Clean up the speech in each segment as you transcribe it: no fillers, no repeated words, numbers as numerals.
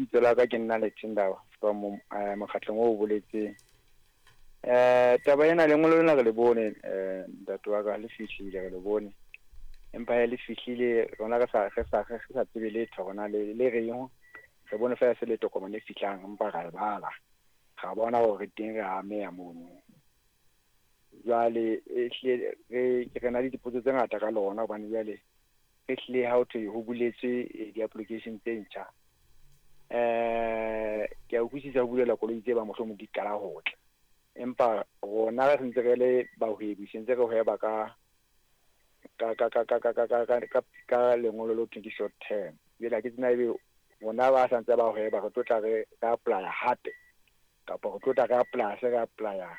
Lebitso la ka ke nna Lethendaba from mokgatlong o boletseng. Taba ena lengolo lena re le bone ntate wa ka le fihlile re le bone. Empa he le fihlile rona re sa re sa re sa tsebe letho rona le le reng. Re bone fela se le tokomane e fihlang empa ra e bala. Ra bona hore teng re ameha mono. Jwale ehlile re re na le dipotso tse ngata ka lona hobane jwale ehlile ha ho thwe ho buletswe di-application tse ntjha. Ke a utlwisisa ho bulela koloi tse ba mohlomong di qala ho tla. Empa rona re ntse re le bahwebi se ntse re hweba ka ka ka ka ka ka ka ka ka ka lengolo le ho thweng ke short term. Jwale ha ke tsebe na ebe rona ba santse ba hweba re tlo tla re apply-a hape kapa re tlo tla re apply-a se re apply-a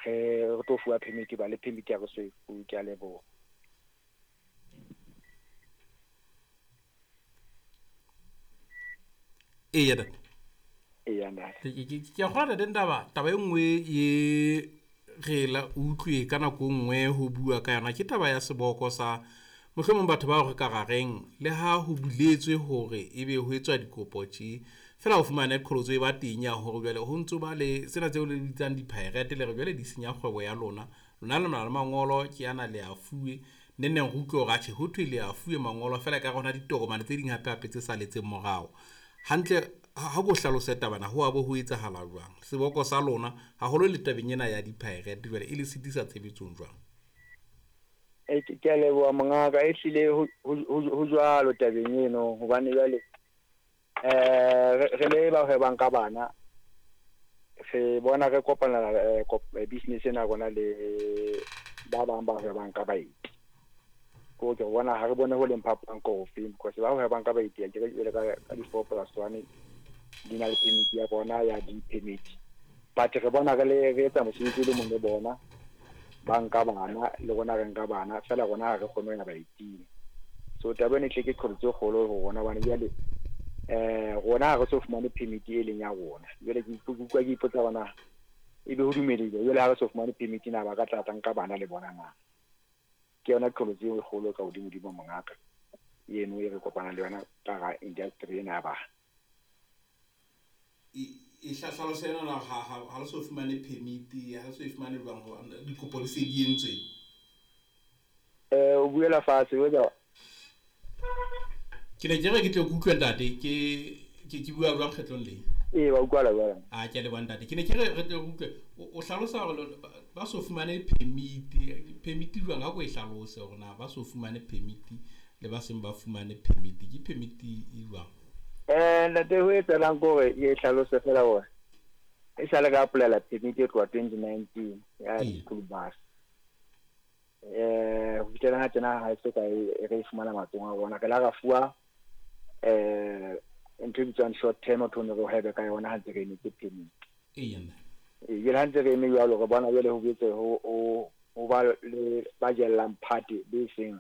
re re tlo fuwa permit ba le permit ya re so e fuwe. Ke a leboha. Eya ntate. Eya ntate. Ke a kgolwa ntate Ndaba, taba e nngwe ye re la utlwe ka nako e nngwe ho bua ka yona ke taba ya seboko sa mohlomong batho bao re ka ra reng le ha ho buletswe hore ebe ho etswa dikopo tje, fela o fumane qholotso e ba teng ya hore jwale ho ntso ba le sena tseo le bitsang di-pirate le re jwale di senya kgwebo ya lona. Lona le na le mangolo ke ana le a fuwe, neng neng re utlwe hore atjhe ho thwe le a fuwe mangolo fela ekare hona ditokomane tse ding hape hape tse saletseng morao. Hantle ha ko hlalose tabana ho a bo ho etsahala jwang? Seboko sa lona haholo le tabeng ena ya di-pirate jwale e le sitisa tshebetsong jwang? Ke a leboha mongaka, ehlile ho jwalo tabeng eno hobane jwale re le ba hwebang ka bana re bona re kopanela business ena ya rona le ba bang ba hwebang ka baeti. Ko ke bona ha re bone ho leng phapang ke ofeng because ba hwebang ka baeti akere jwale ka di 4 plus 1 di na le permit ya bona ya di-permit. But re bona re le re etsa mosebetsi o le mong le bona, ba nka bana le rona re nka bana fela rona ha re kgone ho ya baeting. So taba ena e hle ke qholotso e kgolo ho rona hobane jwale rona ha re so fumane permit e leng ya rona. Jwale ke utlwa ke ipotsa hore na ebe ho dumelehile jwale ha re so fumane permit na ba ka tla tla nka bana le bona na. Ke yona qholotso e kgolo ka hodimo-dimo mongaka eno e re kopanang le yona ka hara industry ena ya bana. E hlalose ena na ha le so fumane permit, ha le so e fumane jwang hobane dikopo di se di entswe? O buela fatshe o etsa. Ke ne ke re ke tle ke utlwe ntate, ke bua jwang kgetlong le? Ee, wa utlwala jwale. A ke a leboha ntate. Ke ne ke re re tle re utlwe o hlalosa hore ba so fumane permit, permit jwang ha ko e hlalose hore na ba so fumane permit le ba seng ba fumane permit ke permit e jwang? Ntate ho etsahalang ke hore ke hlalose fela hore e sale ka apply-ela permit e tloha 2019 ya school bus. Ho fihlela ha tjena ha e so ka e re e fumana matsohong a rona. Re la ra fuwa ntho e bitswang short term ho thwe re hwebe ka yona ha ntse re emetse permit. Eya nna. Jwale ha ntse re eme jwalo re bona jwale ho boetse ho ba le ba jellang phate be seng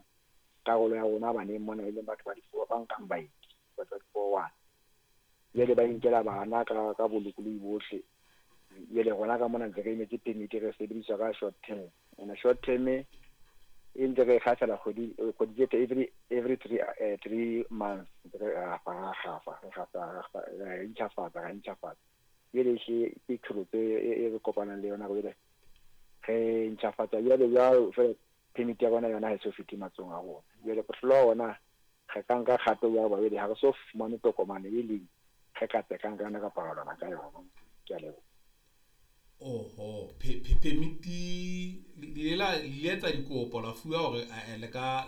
karolo ya rona baneng mona e leng batho ba di-four ba nkang baeti, batho ba di-four one. Jwale ba inkela bana ka bolokolohi bohle. Jwale rona ka mona ntse re emetse permit re sebediswa ka short term. And short term e ntse re kgahlela kgwedi kgwedi tse every 3 months re rafa ra gafa re intjhafatsa ra intjhafatsa. Jwale ehlile ke qholotso e re kopanang le yona jwale re intjhafatsa jwale jwalo fela permit ya rona yona ha e so fihle matsohong a rona. Jwale bohlokwa hona re ka nka kgato ya hoba jwale ha re so fumane tokomane e leng re ka tsekang ka yona kapa ra lwana ka yona. Ke a leboha. Oho, permit le la le etsa dikopo la fuwa hore le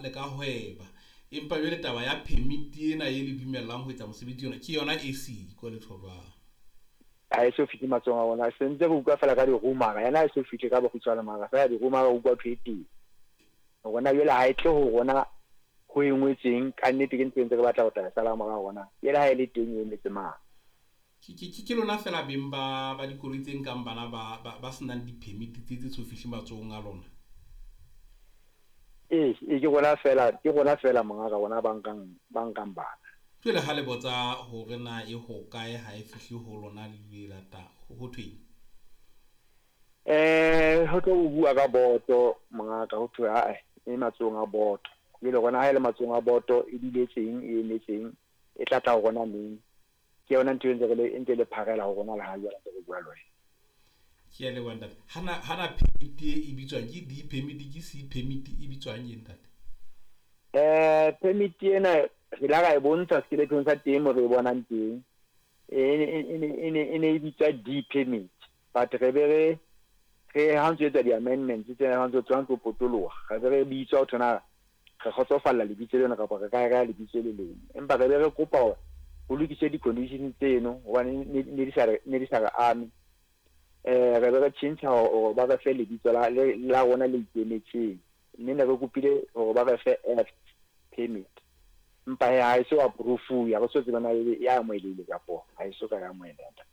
ka hweba. Empa jwale taba ya permit ena e le dumellang ho etsa mosebetsi ona ke yona e siko letho jwang? Ha e so fihle matsohong a rona. Se ntse re utlwa fela ka di-rumor-a, yena ha e so fihle ka bokgutshwane mara fela di-rumor-a re utlwa thwe e teng. Rona jwale ha e tle ho rona ho e ngwetsweng ka nnete ke ntho e ntse re batla ho tla e sala morao rona. Jwale ha e le teng e emetse mang? Ke lona fela beng ba dikoloi tse nkang bana ba senang di-permit tse so fihle matsohong a lona? Ee, ke rona fela, ke rona fela mongaka rona ba nkang bana. Jwale ha le botsa hore na e hokae ha e fihle ho lona le le lata ho thweng? Ho tlo bua ka boto mongaka ho thwe ae e matsohong a boto. Jwale rona ha e le matsohong a boto e duletseng e emetseng e tla tla ho rona neng? Ke yona ntho e ntse re le e ntse le pharela ho rona le ha jwale ntse re bua le wena. Ke a leboha ntate. Hana permit e bitswang ke D permit, ke C permit, e bitswang eng ntate? Permit ena re la ra e bontsha skelethong sa teng mo re e bonang teng. E ne e bitswa D permit, but re be re ha ntso etsa di-amendments tsena, ha ntso potoloha, re be re bitswa ho thona re kgotsofalla lebitso lena kapa re ka reha lebitso le leng, empa re be re kopa hore ho lokiswe di-conditions tseno hobane ne di sa re ame. Re be re tjhentjha hore ba re fe lebitso la rona le ikemetseng, mme ne re kopile hore ba re fe F permit, empa he ha e so approve, ha re so tsebe na ebe e amohelehile kapo ha e so ka ya amoheleha.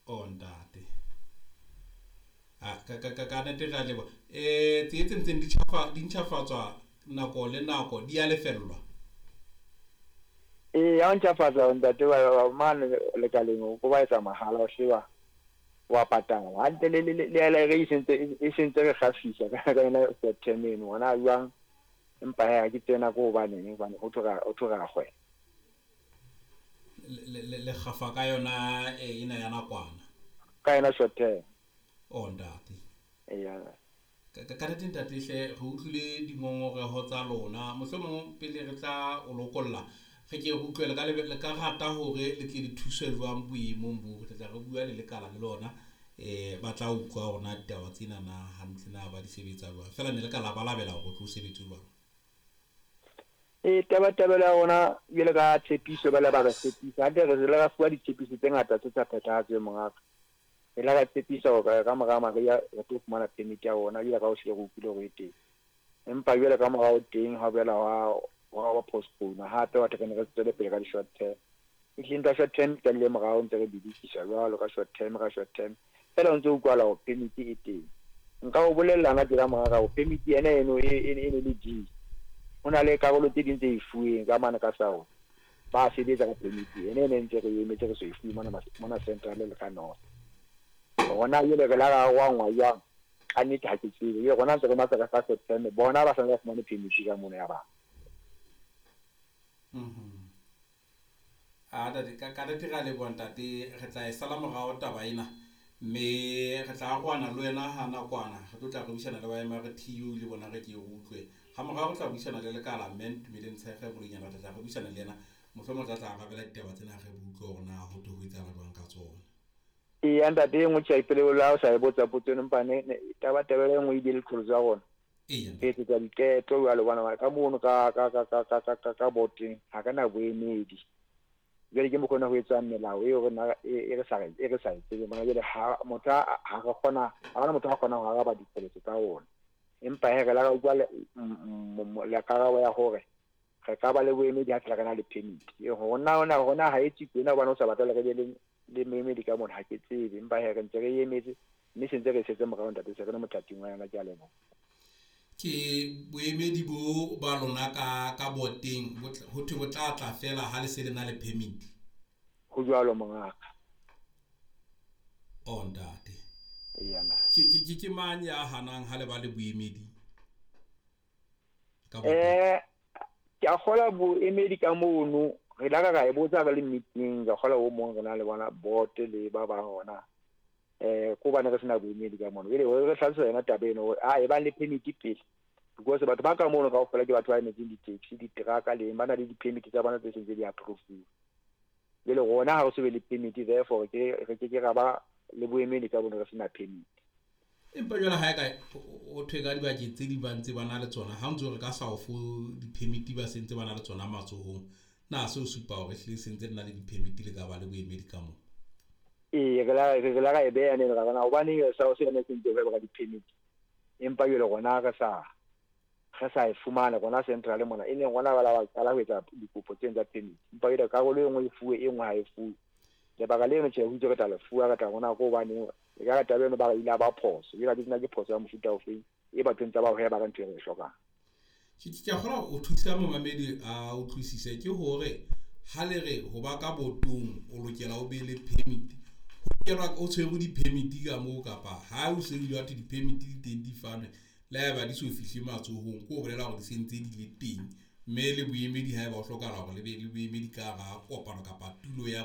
Oh ntate, ka nnete re a leboha. Tse tse ntseng di ntjhafatswa nako le nako di a lefellwa? Ee, ha o ntjhafatsa ntate mane lekaleng o ko ba etsa mahala, o sheba wa patala hantle. Le LRA e sentse re kgafisa ka yona short term eno hona jwang, empa he ha ke tsena ko hobaneng, hobane ho thwe ra kgweba. Le kgafa ka yona ena ya nakwana? Ka yona short term. Oh ntate. Eya. Ka nnete ntate hle, re utlwile dingongoreho tsa lona. Mohlomong pele re tla o lokolla, re ke re utlwe le ka rata hore le tle le thuswe jwang boemong bo. Re tla re bua le lekala le lona, ba tla utlwa hore na ditaba tsena na hantle na ba di sebetsa jwang. Feela ne le ka labalabela hore o tlo sebetse jwang? E tabatabelo ya rona jwale ka tshepiso, ba le ba re tshepisa hantle, re le ra fuwa ditshepiso tse ngata tse sa phethahatsweng, mongaka. Re la ra tshepisa hore ka mora mariha re tlo fumana permit ya rona jwale ka ho hlile re utlwile hore e teng, empa jwale ka morao teng ha boela wa postpone hape, batho re ne re tswele pele ka di-short term. Ehlile ntho ya short term e qadile morao, ntse re bidikiswa jwalo ka short term, ka short term fela o ntse o utlwahala hore permit e teng. Nka o bolella nna tjena mongaka hore permit ena eno e ne le D, ho na le karolo tse ding tse e fuweng ka mane ka south, ba sebetsa ka permit ene ene ntse re emetse, re so e fuwe mona central le ka north. Rona jwale re la ra arohangwa jwang? Ka nnete ha ke tsebe. Jwale rona ntse re matsa ka short term, bona ba santse ba fumane permit ka mono ya bang. A ntate, ka nnete re a leboha ntate. Re tla e sala morao taba ena, mme re tla arohana le wena ha nakwana. Re tlo tla re buisana le ba MRTU le bona, re ke re utlwe. Ha morao re tla buisana le lekala, mme Ntumeleng Tshekge Boloinyana, re tla re buisana le yena, mohlomong tla tla arabela ditaba tsena, re utlwe hore na ho thwe ho etsahala jwang ka tsona. Eya ntate, e nngwe tjhe pele le ha o sa e botsa potso eno, empa ne tabatabelo e nngwe e bile leqholotso ya rona. Re etsetsa diqeto jwale hobane ka mono ka boteng ha re na boemedi. Jwale ke mokgwa ona ho etswang melao eo rona e re sa e tsebeng bona. Jwale ha motho ha re kgona, ha hona motho a kgonang ho araba diqholotso tsa rona, empa he re la ra utlwa le karabo ya hore re ka ba le boemedi ha fela re na le permit. Rona ha e tswe tjena hobane o sa batle re be le moemedi ka mona, ha ke tsebe, empa he re ntse re emetse, mme se ntse re setse morao ntate, se re le mothating wa yona. Ke a leboha. Ke boemedi bo ba lona ka boteng ho thwe bo tla tla fela ha le se le na le permit? Ho jwalo mongaka. Oh ntate. Eya. Ke mang ya hanang ha le ba le boemedi ka boteng? Ke a kgola boemedi ka mono re la ka ra e botsa re le meeting, ka kgola o mong re na le bona board le ba bang hona ko bane re sena boemedi ka mono. Jwale re hlalosa yona taba eno hore a e bang le permit pele, because batho ba ka mono kaofela ke batho ba emetseng di-taxi, diteraka, le ba na le di-permit tsa bona tse sentse di approve. Jwale rona ha re so be le permit, therefore re ke ke ra ba le boemedi ka bono re sena permit. Empa jwale ha e ka o thwe ka dibakeng tse ding ba ntse ba na le tsona, ha o ntso re ka sa o fo di-permit, ba sentse ba na le tsona matsohong, na se o supa hore ehlile sentse le na le di-permit, le ka ba le boemedi ka moo? Ee, re la ra e beha nene, ra bona hobaneng sa se yona sentse hweba ka di-permit, empa jwale rona re sa e fumana rona central mona, e leng rona ba la ba qala ho etsa dikopo tseno tsa permit, empa jwale karolo e nngwe e fuwe, e nngwe ha e fuwe. Lebaka leno tjhe, ho itse re tla le fuwa, re tla bona ko hobaneng e ka re taba eno ba re ile ba phoso. Jwale ha ke tsena ke phoso ya mofuta ofeng e bathong tsa ba hweba ka ntho e re e hlokang. Ke a kgolwa o thusa momamedi a utlwisise ke hore ha le re ho ba ka botong o lokela o be le permit, ho kenwa o tshwerwe di-permit ka moo, kapa ha o se ile wa thwe di-permit di teng di fanwe, le haeba di so fihle matsohong, ke ho bolela hore di sentse di le teng. Mme le boemedi, haeba ho hlokahala hore le be le boemedi ka hara kopano kapa tulo ya.